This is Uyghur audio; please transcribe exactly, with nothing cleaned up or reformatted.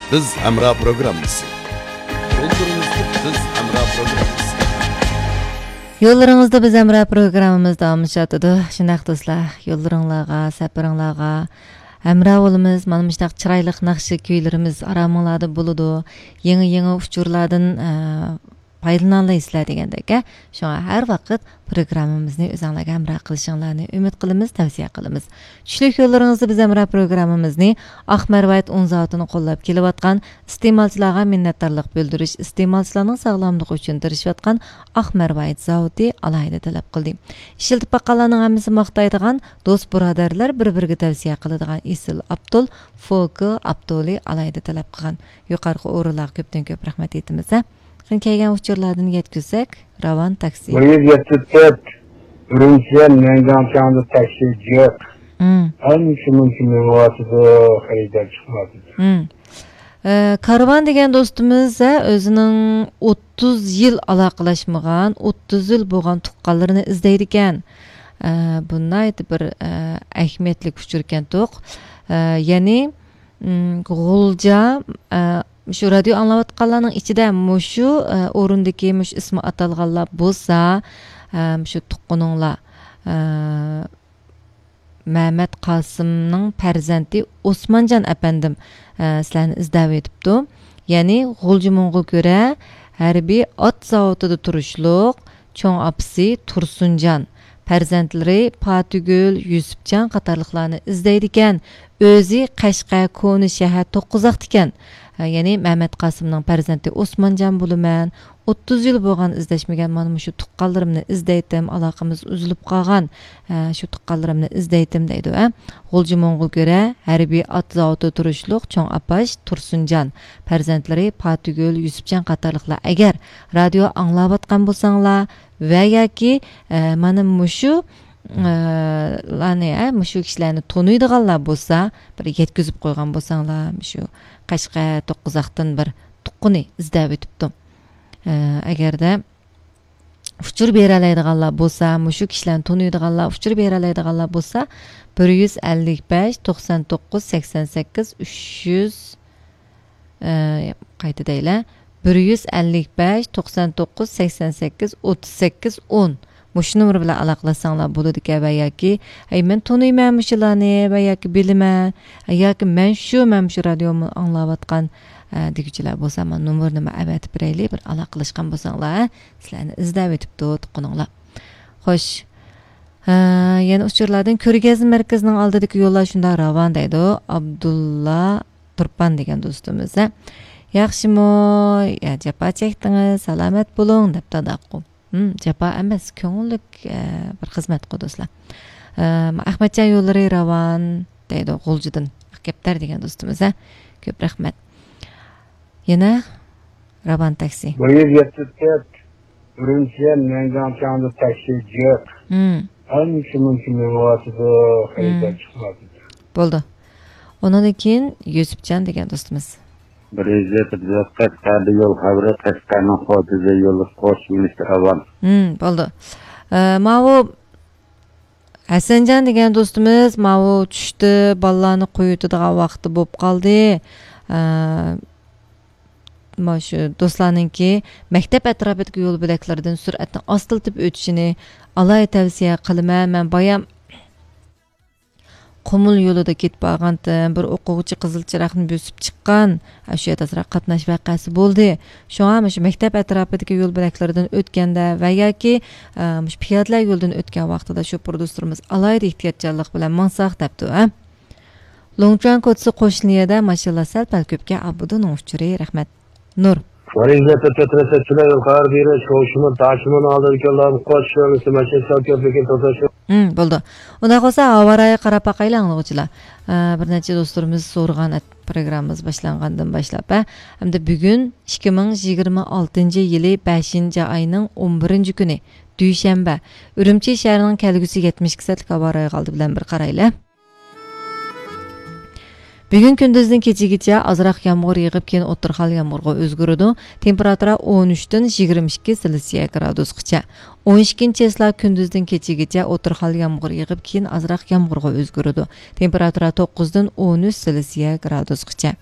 بىز ھەمراھ پروگراممىسى. يوللىرىڭىزدا بىز ھەمراھ پروگراممىسى. يوللىرىڭىزدا بىز ھەمراھ پروگراممىمىز داۋاملىشىۋاتىدۇ. شۇنداق دوستلار، يوللىرىڭلارغا، سەپىرىڭلارغا ھەمراھ بولىمىز. مانا مۇشۇنداق چىرايلىق ناخشا كۈيلىرىمىز ئارامىڭلاردا بولىدۇ. يېڭى، يېڭى ئۇچۇرلاردىن، ئە، پايدىلىنالايسىلەر دېگەندەك. شۇڭا ھەر ۋاقىت پروگراممىمىزنى ئۆزۈڭلارگە ھەمراھ قىلىشىڭلارنى ئۈمىد قىلىمىز، تەۋسىيە قىلىمىز. چۈشلۈك يوللىرىڭىزدا بىز ھەمراھ پروگراممىمىزنى ئاق مەرۋايىت ئۇن زاۋۇتىنى قوللاپ كېلىۋاتقان، ئىستېمالچىلارغا مىننەتدارلىق بىلدۈرۈش، ئىستېمالچىلارنىڭ ساغلاملىقى ئۈچۈن تىرىشىۋاتقان ئاق مەرۋايىت زاۋۇتى ئالاھىدە تەلەپ قىلدى. ئىشلىتىپ باققانلارنىڭ ھەممىسى ماختايدىغان دوست بۇرادەرلەر بىر-بىرىگە تەۋسىيە قىلىدىغان ئېسىل ئابدۇل، فوكى ئابدۇلى ئالاھىدە تەلەپ قىلغان. يۇقىرىقى ئورۇنلارغا كۆپتىن كۆپ رەھمەت ئېيتىمىز ھە. قېنى، كەلگەن ئۇچۇرلاردىن يەتكۈزسەك، راۋان تاكسى. بىر يۈز يەتتە تۆت، ئۈرۈمچىدىن نەنجىڭ چاڭزا تاكسى جىق. مم. ئانچە مۇنچە مېڭىۋاتىدۇ، خېرىدار چىقمايۋاتىدۇ. مم. ئە، كارۋان دېگەن دوستىمىز، ھە، ئۆزىنىڭ ئوتتۇز يىل ئالاقىلەشمىگەن، ئوتتۇز يىل بولغان تۇغقانلىرىنى ئىزدەيدىكەن. ئە، بۇ ناھايىتى بىر، ئە، ئەھمىيەتلىك ئۇچۇركەن توق. ئە، يەنى، م، غۇلجا، ئە، شۇ رادىيو ئاڭلاۋاتقانلارنىڭ ئىچىدە مۇشۇ، ئە، ئورۇندىكى مۇشۇ ئىسمى ئاتالغانلار بولسا، ئە، مۇشۇ تۇغقىنىڭلار، ئە، مەمەت قاسىمنىڭ پەرزەنتى ئوسمانجان ئەپەندىم، ئە، سىلەرنى ئىزدەۋېتىپتۇ. يەنى غۇلجا موڭغۇلكۈرە ھەربىي ئات زاۋۇتىدا تۇرۇشلۇق چوڭ ئاپىسى تۇرسۇنجان، پەرزەنتلىرى پاتىگۈل، يۈسۈپجان قاتارلىقلارنى ئىزدەيدىكەن. ئۆزى قەشقەر كونا شەھەر توققۇزاقتىكەن. ھە، يەنى مەمەت قاسىمنىڭ پەرزەنتى ئوسمانجان بولىمەن. ئوتتۇز يىل بولغان ئىزدەشمىگەن مانا مۇشۇ تۇغقانلىرىمنى ئىزدەيتتىم، ئالاقىمىز ئۈزۈلۈپ قالغان، ھە، شۇ تۇغقانلىرىمنى ئىزدەيتتىم دەيدۇ، ھە. غۇلجا موڭغۇلكۈرە ھەربىي ئات زاۋۇتىدا تۇرۇشلۇق چوڭ ئاپاش تۇرسۇنجان، پەرزەنتلىرى پاتىگۈل، يۈسۈپجان قاتارلىقلار ئەگەر رادىيو ئاڭلاۋاتقان بولساڭلار ۋە ياكى، ئە، مانا مۇشۇ، ئە، لارنى، ئە، مۇشۇ كىشىلەرنى تونۇيدىغانلار بولسا، بىر يەتكۈزۈپ قويغان بولساڭلار، مۇشۇ قەشقەر توققۇزاقتىن بىر تۇغقىنى ئىزدەۋېتىپتۇ. ئە، ئەگەردە ئۇچۇر بېرەلەيدىغانلار بولسا، مۇشۇ كىشىلەرنى تونۇيدىغانلار، ئۇچۇر بېرەلەيدىغانلار بولسا، بىر يۈز ئەللىك بەش، توقسان توققۇز، سەكسەن سەككىز، ئۈچ يۈز، ئە، قايتا دەيلى، بىر يۈز ئەللىك بەش، توقسان توققۇز، سەكسەن سەككىز، ئوتتۇز سەككىز، ئون. مۇشۇ نومۇر بىلەن ئالاقىلەشسەڭلار بولىدىكەن ۋە ياكى، ھەي، مەن تونۇيمەن مۇشۇلارنى ۋە ياكى بىلىمەن، ياكى مەن شۇ، مەن شۇ رادىيونى ئاڭلاۋاتقان، ئە، دېگۈچىلەر بولسا، مانا نومۇرنى مەن ئەۋەتىپ بېرەيلى، بىر ئالاقىلەشكەن بولساڭلار، سىلەرنى ئىزدەۋېتىپتۇ تۇغقىنىڭلار. خوش. ھە، يەنە ئۇچۇرلاردىن كۆرگەزمە مەركىزىنىڭ ئالدىدىكى يوللار شۇنداق راۋان دەيدۇ. ئابدۇللا تۇرپان دېگەن دوستىمىز، ھە. ياخشىمۇ؟ يا، جاپا چەكتىڭىز، سالامەت بولۇڭ، دەپتۇ ئاداققۇ. ھىم، جاپا ئەمەس، كۆڭۈللۈك، ئە، بىر خىزمەتقۇ دوستلار. ئە، ئەخمەتجان يوللىرى راۋان دەيدۇ، غۇلجىدىن. ئاق كەپتەر دېگەن دوستىمىز، ھە. كۆپ رەھمەت. يەنە راۋان تاكسى. بىر يۈز يەتتە تۆت، ئۈرۈمچىدىن نەنجىڭ چاڭزا تاكسى جىق. ھىم. ئانچە مۇنچە مېڭىۋاتىدۇ، خېرىدار ھىم. چىقمايۋاتىدۇ. بولدى. ئۇنىڭدىن كېيىن يۈسۈپجان دېگەن دوستىمىز. بىر يۈز يەتتە تۆت، قەشقەردە يول خەۋىرى، قەشقەرنىڭ خوتۇنى يولى قوش مىنىستىر ئاۋام. ھىم، بولدى. ئە، ماۋۇ ھەسەنجان دېگەن دوستىمىز ماۋۇ چۈشتە بالىلارنى قويۇۋېتىدىغان ۋاقتى بولۇپ قالدى. ئە، مانا شۇ دوستلارنىڭكى مەكتەپ ئەتراپىدىكى يول بۆلەكلىرىدىن سۈرئەتنى ئاستىلىتىپ ئۆتۈشىنى ئالاھىدە تەۋسىيە قىلىمەن. مەن بايام قۇمۇل يولىدا كېتىپ بارغانتىم، بىر ئوقۇغۇچى قىزىل چىراغنى بۆسۈپ چىققان. ھە، شۇ يەردە ئازراق قاتناش ۋەقەسى بولدى. شۇڭا مۇشۇ مەكتەپ ئەتراپىدىكى يول بۆلەكلىرىدىن ئۆتكەندە ۋە ياكى، ئە، مۇشۇ پىيادىلەر يولىدىن ئۆتكەن ۋاقتىدا شوپۇر دوستلىرىمىز ئالاھىدە ئېھتىياتچانلىق بىلەن ماڭساق دەپتۇ، ھە. لۇڭچۇەن كوچىسى قوشنا يەردە ماشىنىلار سەل-پەل كۆپكەن، ئابدۇنىڭ ئۇچۇرى. رەھمەت. نۇر. ھىم، بولدى. ئۇنداق بولسا ھاۋا رايىغا قاراپ باقايلى ئاڭلىغۇچىلار. ئە، بىر نەچچە دوستلىرىمىز سورىغان ئەت-، پروگراممىمىز باشلانغاندىن باشلاپ، ھە، ھەمدە بۈگۈن ئىككى مىڭ يىگىرمە ئالتىنچى يىلى بەشىنچى ئاينىڭ ئون بىرىنچى كۈنى، دۈشەنبە، ئۈرۈمچى شەھىرىنىڭ كەلگۈسى يەتمىش ئىككى سائەتلىك ھاۋا رايىغا ئالدى بىلەن بىر قارايلى. بۈگۈن كۈندۈزدىن كېچىگىچە ئازراق يامغۇر يېغىپ، كېيىن ئوتتۇرا خىل يامغۇرغا ئۆزگىرىدۇ. تېمپېراتۇرا ئون ئۈچتىن يىگىرمە ئىككى سېلسىيە گرادۇسقىچە. ئون ئىككىنچى چېسلا كۈندۈزدىن كېچىگىچە ئوتتۇرا خىل يامغۇر يېغىپ، كېيىن ئازراق يامغۇرغا ئۆزگىرىدۇ. تېمپېراتۇرا توققۇزدىن ئون ئۈچ سېلسىيە گرادۇسقىچە.